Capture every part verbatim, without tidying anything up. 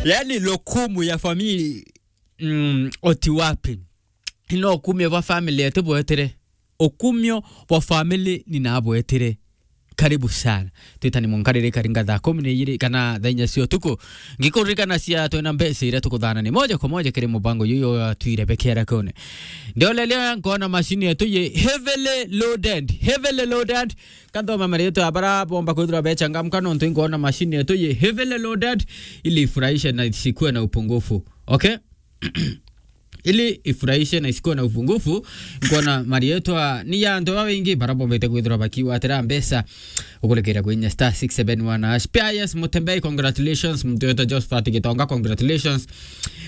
Yani, lokumu ya family, mm, oti wapi? Ino ukumio bwa family ati bwetire. Ukumio bwa family ni nabwetire. Karibu sana. Twitani munkarire karinga thaa kumi na ijiri kana thaa inya cia utuku. Ngikuririkana cia twina mbeca iria tukuthana ni moja kwa moja kiri mubango yuyu wa Twire Beke Arakone. Ndiolelia nkona mashini yetu ye heavily loaded. Heavily loaded. Kanthoma marietwa ya bara bomba kwithirwa bechangamka nontu inkwona mashini yetu ye heavily loaded ili ifurahishe na isikue na upungufu. Okay? Ili ifurahishe na isikue na upungufu, nkwona marietwa ni ya antu babaingi bara bombete kwithirwa bakiwatira mbeca ukurekeria kwinya star six seven one hash. Pius Mutembei, congratulations. Mtu wetu Josephat Gitonga, congratulations.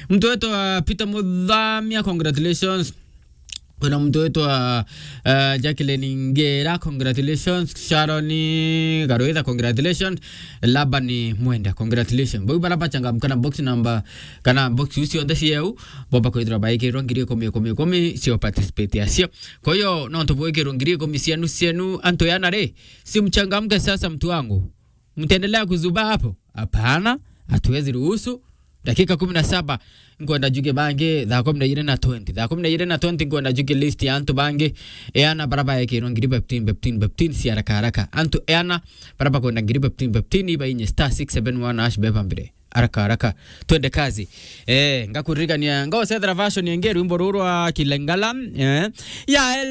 Mtu wetu, uh, Peter Muthamia, congratulations. Kuna mtu wetu wa, uh, Jacqueline Ngera, congratulations. Sharon Garuitha, congratulations. Laban Mwenda, congratulations. Bau bara bachangamka na box number, kana box iu cionthe cieu, bomba kwithirwa baikirwa ngiri ikumi, ikumi, ikumi cio participate acio. Kwa hiyo, nontu bwikirwa ngiri ikumi cienu, cienu, antu yana ri, si mchangamke sasa, mtu wangu. Mtaendelea kuzubaa hapo? Hapana, hatuwezi ruhusu. Dakika kumi na saba, nkwenda njuke bangi thaa kumi na ijiri na twenty. Thaa kumi na ijiri na twenty, nkwenda njuke list ya antu bangi. Eana bara baekirwa ngiri fifteen, fifteen, fifteen, si haraka haraka. Antu eana bara bakwenda ngiri fifteen, fifteen, ibainye star six seven one hash beba mbere. Haraka haraka. Twende kazi. Eh, ngakuririkania, ngocethera version yengi rwimbo ruru rwa Kilengala. Eh. Ya